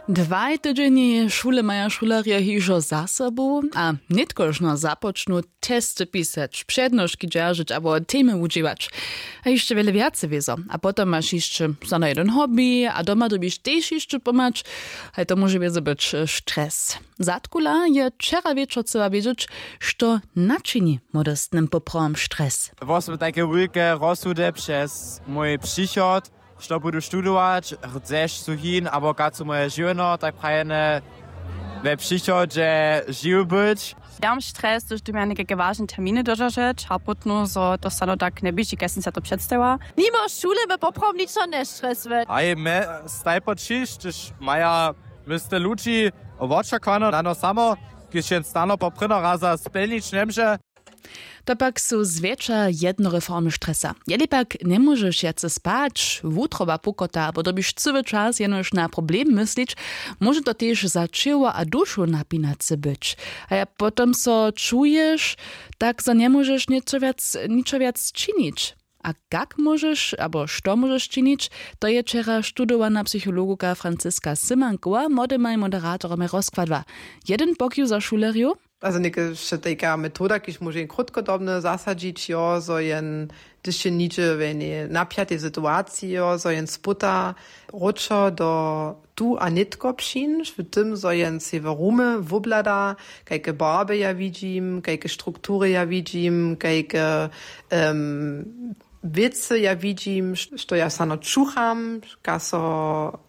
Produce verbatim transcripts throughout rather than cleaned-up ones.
Dwaj tydźenjej šule maja šulerjo hižo za sobu a nětkožno započnu testy pisać, přednoški dźeržeć abo temy wudźěłać. A hišće wjele wjace wězo. A potom maš hišće za na jedyn hobby a doma dyrbiš tež hišće pomhać. Haj to móže wězo być stres. Zadkula je wčera wječor chcyła wědźeć, što načini młodostnym poprawom stres. Wosmy tajke wulke rozsudy přez mój přichod, što budu študować, hdźež su hin abo kaco moje žiwno, tak prajene we přichodźe žiw być. Dam stres, hdyž dym ja někajke wažne terminy dodržeć a pótnu zo to stano tak njeběži kaž sym se to předstajiła. Nimo šule by poprawom ničo njestresuje. Haj, me staj po ćiš, hdyž maja mysle ludźi wočakowano na no samo, kiž jen stano po prěno raza spjelnić njemóže. To pak su zwjetša jednore formy stresa. Jeli pak njemóžeš wjace spać, wutroba pukota abo dyrbiš cyły čas jenož na problem myslić, móže to tež za ćěło a dušu napinace być. A ja potom so čuješ, tak zo njemóžeš něčo wjac, ničo wjac činić. A kak móžeš abo što móžeš činić, to je wčera študowana psychologoka Franziska Symankowa młodymaj moderatoromaj rozkładła. Jedyn pokiw za šulerjow. Also něke wšetejka metoda, kiž móže jen krótkodobne zasadźić, jo, zo jen, hdyž je nihdźe w jenej napjatej situaciji, jo, zo jen spóta wróćo do tu a nětko přińć, w tym zo jen sej w rumy wobhlada, kajke barby ja widźim, kajke struktury ja widźim, kajke em, wěcy ja widźim, što ja sano čucham, kaž so,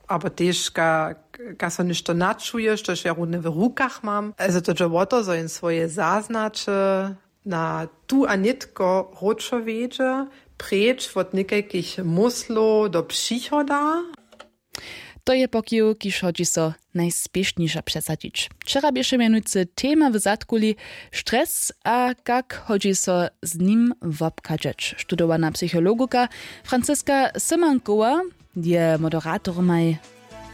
abo tež ka-, kaž so něšto načuje, štož ja runje w rukach mam. Also to dźe wo to, zo jen swoje zaznaće na tu a nětko wróćo wjedźe, preč wot někajkich myslow do přichoda. To je pokiw, kiž hodźi so najspěšnišo přesadźić. Wčera běše mjenujcy tema w zadkuli stres a kak hodźi so z nim wobchadźeć. Študowana psychologoka Franziska Symankowa je moderatoromaj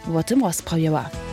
wo tym rozprawjała.